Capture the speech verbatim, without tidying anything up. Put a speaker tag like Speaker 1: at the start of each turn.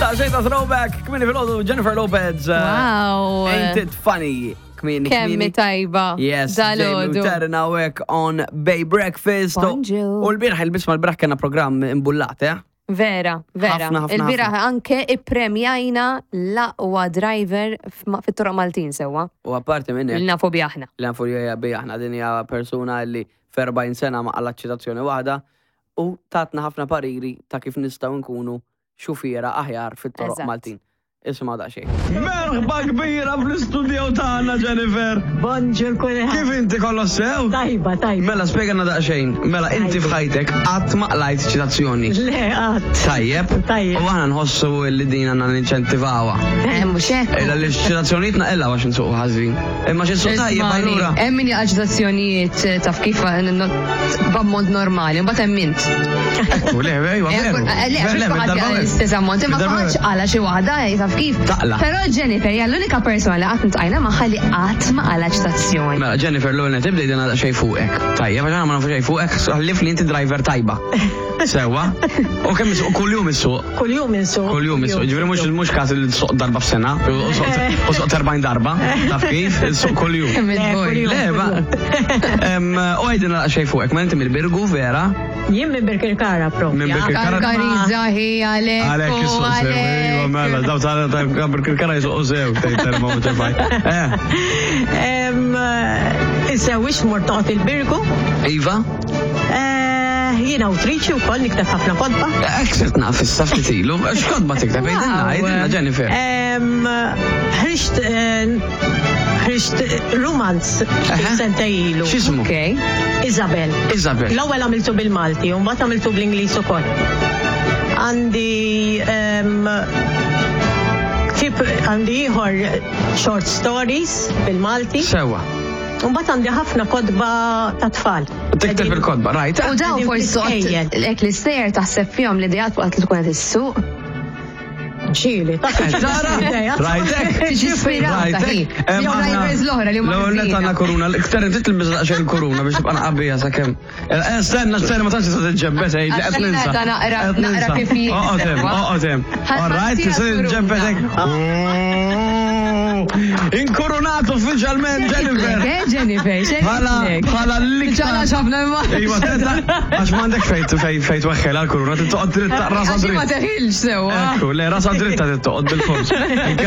Speaker 1: Daqsxejn ta' throwback, kmieni filgħodu, Jennifer Lopez. uh,
Speaker 2: Wow.
Speaker 1: Ain't it funny? Kmieni,
Speaker 2: Kemm
Speaker 1: kmieni.
Speaker 2: tajba.
Speaker 1: Yes, Jamie
Speaker 2: Dalgħodu.
Speaker 1: Taryn hawnhekk on Bay Breakfast.
Speaker 2: Bonjour.
Speaker 1: U l-bieraħ, il-bisma l-bieraħ kellna programm imbullat, eh?
Speaker 2: Vera, vera.
Speaker 1: Ħafna, ħafna,
Speaker 2: Il-bieraħ anke ippremjajna l-aqwa driver f'ma- fit-toroq Maltin sewwa.
Speaker 1: U apparti minn hekk,
Speaker 2: Li nafu bi aħna.
Speaker 1: li nafu li bi aħna, din hija persuna li f'erbgħin sena ma qalgħet ċitazzjoni waħda u tatna ħafna pariri ta' kif nistgħu nkunu xufiera aħjar fit-toroq
Speaker 2: Eżatt.
Speaker 1: Maltin. Isma' daqsxejn. Merħba kbira fl-istudio tagħna, Jennifer.
Speaker 3: Bonġur kulħadd.
Speaker 1: Kif inti, kollox sew?
Speaker 3: Tajba, tajba.
Speaker 1: Mela spjegana daqsxejn. Mela inti f'ħajtek qatt ma qlajt ċitazzjoni.
Speaker 3: Le, qatt.
Speaker 1: Tajjeb.
Speaker 3: Tajjeb.
Speaker 1: U aħna nħossu li din għandna ninċentivawha.
Speaker 2: Eh, mhux hekk.
Speaker 1: Illa li ċitazzjonijiet naqilgħu għax nsuqu ħażin. Imma xi nsuq tajjeb
Speaker 2: Ismani,
Speaker 1: allura.
Speaker 2: hemm min jaqa' ċitazzjonijiet eh, taf kif eh, no- b'ammont normali, mbagħad hemm int.
Speaker 1: Ekku, le, ejwa,
Speaker 2: Eh,
Speaker 1: veru.
Speaker 2: eh, Le, għax
Speaker 1: Le,
Speaker 2: mhux kulħadd
Speaker 1: mid-darba
Speaker 2: jaqla'
Speaker 1: veru.
Speaker 2: l-istess ammont, imma
Speaker 1: Mid-darba
Speaker 2: kulħadd
Speaker 1: veru.
Speaker 2: qala xi waħda, eh, taf kif.
Speaker 1: Taqla.
Speaker 2: Però Jennifer hija l-unika persona li qatt iltqajna magħha li qatt ma qala ċitazzjoni.
Speaker 1: Mela, Jennifer, l-ewwel nett ibda għidilna xejn fuqek. Tajjeb, għax aħna ma nafu xejn fuqek, ħlief li inti driver tajba. Sewwa? U kemm issuq, kuljum issuq?
Speaker 3: Kuljum insuq.
Speaker 1: Kuljum issuq. Ġifieri mhux mhux każ li tsuq darba f'sena, u suq- u suq erbgħin darba, taf kif? Issuq kuljum.
Speaker 2: Kemm
Speaker 3: Le,
Speaker 2: il-boj.
Speaker 3: kuljum.
Speaker 1: Le, ma. Em, U għidilna xejn fuqek, ma inti mill-Birgu, vera?
Speaker 3: Jien minn Birkirkara propja.
Speaker 1: Minn Birkirkara.
Speaker 2: Karkariza hi għalek.
Speaker 1: Għalek
Speaker 2: u
Speaker 1: jisuq sew, iva, mela, daw ta' ta' Birkirkara jisuqu sew, tgħid termometer. Eh,
Speaker 3: Em, Insewwix mort noqgħod il-Birgu.
Speaker 1: Iva?
Speaker 3: Eh, Jien awtriċi wkoll, nikteb ħafna kotba.
Speaker 1: Ek sirt naf issa ftit ilu, x'kotba tikteb, għidilna, għidilna, Jennifer.
Speaker 3: Em, Ħriġt eh, ħriġt rumanz
Speaker 1: Aha.
Speaker 3: sentejn ilu.
Speaker 1: X'ismu?
Speaker 2: Okej.
Speaker 3: Isabel.
Speaker 1: Isabel.
Speaker 3: L-ewwel għamiltu bil-Malti, u mbagħad għamiltu bl-Ingliż ukoll. Għandi em, ktieb, għandi ieħor short stories bil-Malti.
Speaker 1: Sewwa.
Speaker 3: U mbagħad għandi ħafna kotba ta' tfal.
Speaker 1: Tikteb il-kotba, rajt?
Speaker 2: U dawn
Speaker 3: Qegħdin
Speaker 2: forsi
Speaker 3: fl-iskejjel.
Speaker 2: hekk l-istejjer taħseb fihom l-ideat waqt li tkun qed issuq.
Speaker 3: Ġieli, ta'
Speaker 1: Tara, rajtek?
Speaker 2: Tiġi ispirata hi.
Speaker 1: Em,
Speaker 2: Jew
Speaker 1: aħna-
Speaker 2: drivers l-oħra li huma
Speaker 1: L-ewwel nett
Speaker 2: ħażina.
Speaker 1: għandna kuruna, iktar inti tilbis daqsxejn il-kuruna biex tibqa' naqabija sakemm. Eh, Stenna, stenna, ma tantx tista' tiġġebbet, ej, li qed
Speaker 2: Għax
Speaker 1: ninsa.
Speaker 2: ta' naqra-
Speaker 1: Qed
Speaker 2: naqra
Speaker 1: ninsa.
Speaker 2: kif hi-
Speaker 1: Oqgħod hemm, oqgħod hemm.
Speaker 2: Ħa-
Speaker 1: All right,
Speaker 2: ħa
Speaker 1: tista'
Speaker 2: kuruna.
Speaker 1: tiġġebbet hekk. Oh, Inkurunat uffiċjalment, Jennifer.
Speaker 2: Eh, Jennifer,
Speaker 1: Bħala bħala l-iktar.
Speaker 2: Ġala ħafna imma.
Speaker 1: Iva, tenta, għax m'għandek fejt fejt fejt weħħel għal-kuruna, tittoqgħod dritta, rasa
Speaker 2: Għax ma
Speaker 1: dritt.
Speaker 2: teħilx sewwa.
Speaker 1: Ekku, le, rasa dritta tittoqgħod bil-fors.